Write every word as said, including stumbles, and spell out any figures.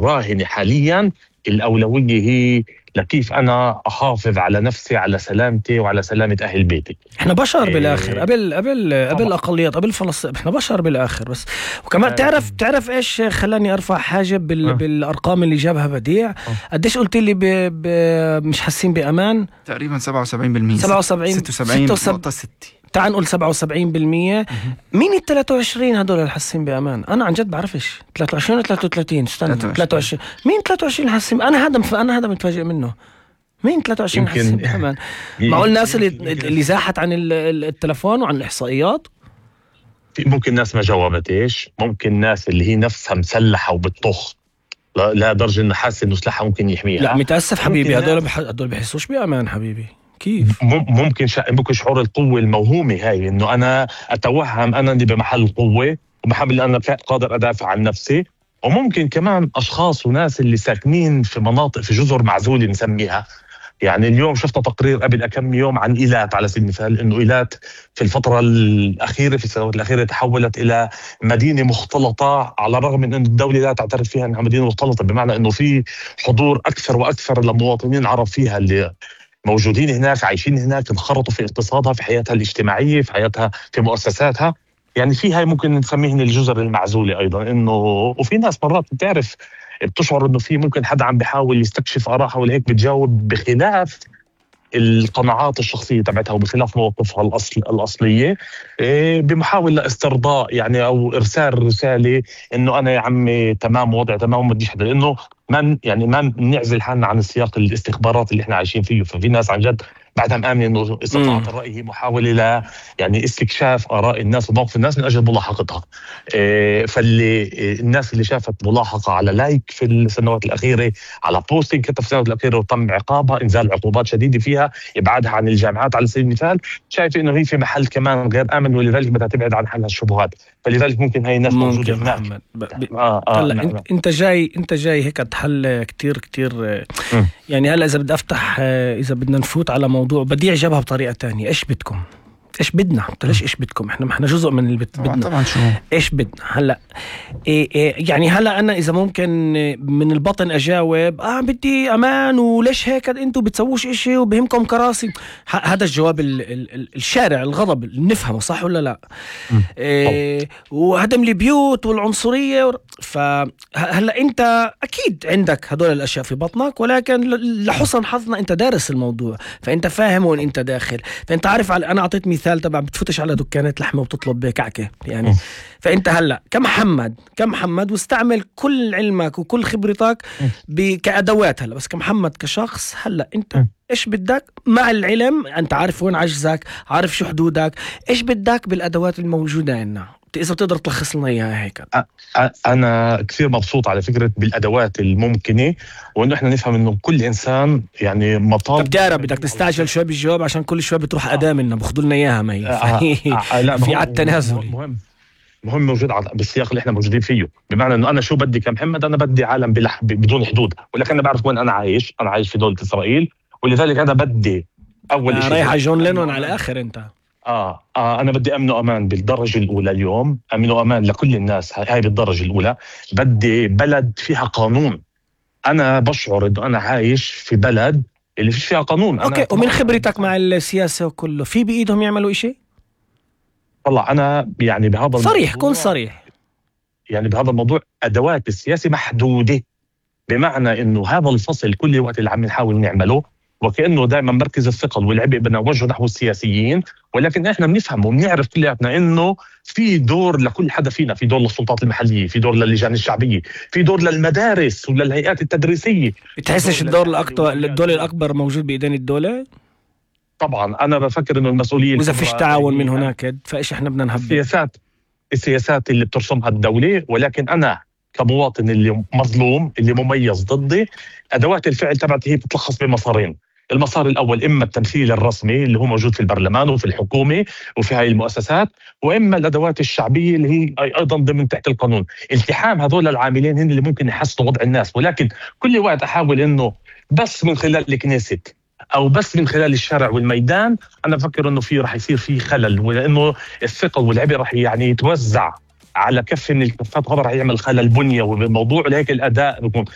راهنة حاليا الأولوية هي لكيف أنا أحافظ على نفسي، على سلامتي وعلى سلامة أهل بيتي. إحنا بشر بالآخر، قبل قبل قبل الأقليات، قبل فلسطين، إحنا بشر بالآخر. بس وكمان تعرف تعرف إيش خلاني أرفع حاجب بال... بالأرقام اللي جابها بديع؟ قديش قلت لي ب... ب... مش حاسين بأمان؟ تقريبا سبعة وسبعين بالمية، سبعة وسبعين ستة وسبعين نقطة ستة. تعال نقول سبعة وسبعين بالمية. مين ال ثلاثة وعشرين هدول اللي حاسين بأمان؟ أنا عن جد بعرفش. ثلاثة وعشرين ولا ثلاثة وثلاثين؟ استنى، ثلاثة وعشرين. مين ثلاثة وعشرين حاسين؟ أنا هذا مف... أنا هذا متفاجئ منه. مين ثلاثة وعشرين حاسين بأمان؟ معقول الناس اللي اللي زاحت عن التلفون وعن الإحصائيات؟ ممكن ناس ما جاوبتش، ممكن ناس اللي هي نفسها مسلحة وبتطخ لا, لا درجة إنه حاسة إنه سلاحها ممكن يحميها. لا متأسف حبيبي، هدول بح... هدول بحسوش بأمان حبيبي. كيف؟ ممكن شا... ممكن شعور القوة الموهومة هاي، إنه أنا أتوهم أنا اللي بمحل القوة وبحب اللي أنا قادر أدافع عن نفسي. وممكن كمان أشخاص وناس اللي ساكنين في مناطق، في جزر معزولة نسميها. يعني اليوم شفت تقرير قبل كم يوم عن إيلات على سبيل المثال، إنه إيلات في الفترة الأخيرة في السنوات الأخيرة تحولت إلى مدينة مختلطة، على الرغم من أن الدولة لا تعترف فيها أنها مدينة مختلطة، بمعنى أنه في حضور أكثر وأكثر لمواطنين عرب فيها اللي موجودين هناك، عايشين هناك، انخرطوا في اقتصادها، في حياتها الاجتماعية، في حياتها، في مؤسساتها. يعني في هاي ممكن نسميهن الجزر المعزولة أيضا. إنه وفي ناس مرات بتعرف بتشعر إنه في ممكن حدا عم بيحاول يستكشف آرائها ولا هيك بتجاوب بخلاف القناعات الشخصية تبعتها وبخلاف مواقفها الأصل الأصلية، بمحاولة استرضاء يعني أو إرسال رسالة إنه أنا يا عمي تمام، وضع تمام، وما بديش حدا، لأنه ما يعني ما نعزل حالنا عن السياق الاستخبارات اللي إحنا عايشين فيه. ففي ناس عن جد بعدها مآمنة إنه استطلاعات الرأي هي محاولة ل يعني استكشاف آراء الناس وموقف الناس من أجل ملاحقتها. إيه فاللي الناس اللي شافت ملاحقة على لايك في السنوات الأخيرة، على بوستينج كتب في السنوات الأخيرة وتم عقابها، إنزال عقوبات شديدة فيها، إبعادها عن الجامعات على سبيل المثال، شايف إنه هي في محل كمان غير آمن، ولذلك بدها تبعد عن حالها الشبهات. فلذلك ممكن هاي الناس موجودة هناك. ب... ب... آه آه هلا نعم. انت جاي انت جاي هيك تحل كتير كتير يعني. هلا اذا بدي افتح اذا بدنا نفوت على موضوع بديع جابها بطريقه تانية، ايش بدكم؟ ايش بدنا؟ ليش ايش بدكم؟ احنا احنا جزء من اللي بدنا. طبعا شو ايش بدنا هلا؟ إيه إيه يعني هلا انا اذا ممكن من البطن اجاوب اه بدي امان، وليش هيك انتم بتسووش اشي وبهمكم كراسي؟ هذا الجواب ال ال ال الشارع الغضب اللي نفهمه، صح ولا لا؟ إيه وهدم البيوت والعنصريه و... فهلا انت اكيد عندك هدول الاشياء في بطنك، ولكن لحسن حظنا انت دارس الموضوع، فانت فاهم وين انت داخل، فانت عارف. على انا اعطيت مثال تبع بتفتش على دكانات لحمه وبتطلب كعكه يعني. فانت هلا كمحمد كمحمد واستعمل كل علمك وكل خبرتك كادوات. هلا بس كمحمد كشخص، هلا انت ايش بدك مع العلم؟ انت عارف وين عجزك، عارف شو حدودك، ايش بدك بالادوات الموجوده عندنا؟ اذا بتقدر تلخص لنا اياها هيك. انا كثير مبسوط على فكره بالادوات الممكنه، وانه احنا نفهم انه كل انسان يعني مطالب. طب تعرف بدك تستعجل شوي بالجواب عشان كل شوي بتروح اداه منا بياخذوا لنا اياها مي. آه آه لا في على التنازل مهم مهم موجود بالسياق اللي احنا موجودين فيه، بمعنى انه انا شو بدي كمحمد؟ انا بدي عالم بلح بدون حدود، ولكن انا بعرف وين انا عايش. انا عايش في دوله اسرائيل، ولذلك انا بدي اول آه شيء رايح على جون لينون على الاخر انت. آه, آه أنا بدي أمن وأمان بالدرجة الأولى اليوم، أمن وأمان لكل الناس، هاي بالدرجة الأولى. بدي بلد فيها قانون. أنا بشعر إنه أنا عايش في بلد اللي فيش فيها قانون. أوكي، ومن خبرتك مع السياسة وكله، في بإيدهم يعملوا إشي؟ طلع أنا يعني بهذا صريح، كون صريح. يعني بهذا الموضوع أدوات السياسة محدودة، بمعنى إنه هذا الفصل كل وقت اللي عم نحاول نعمله وكأنه دائما مركز الثقل والعبء بدنا نوجهه نحو السياسيين، ولكن احنا بنفهم وبنعرف كلياتنا انه في دور لكل حدا فينا، في دور للسلطات المحليه، في دور للجان الشعبيه، في دور للمدارس وللهيئات التدريسيه. بتحسش الدور الاكبر الدور الاكبر موجود بايدين الدوله؟ طبعا انا بفكر انه المسؤوليه، واذا فيش تعاون من هناك فايش احنا بدنا نهبط؟ السياسات السياسات اللي بترسمها الدوله، ولكن انا كمواطن اللي مظلوم اللي مميز ضدي، ادوات الفعل تبعتي هي بتتلخص بمسارين. المسار الأول إما التمثيل الرسمي اللي هو موجود في البرلمان وفي الحكومة وفي هاي المؤسسات، وإما الأدوات الشعبية اللي هي أيضا ضمن تحت القانون. التحام هذول العاملين هن اللي ممكن يحسنوا وضع الناس، ولكن كل وقت أحاول إنه بس من خلال الكنيسة أو بس من خلال الشارع والميدان، أنا بفكر إنه في رح يصير فيه خلل، ولأنه الثقل والعبء رح يعني يتوزع على كف من الكفات هذا رح يعمل خلل بنيوي بالموضوع، لهيك الاداء بيكون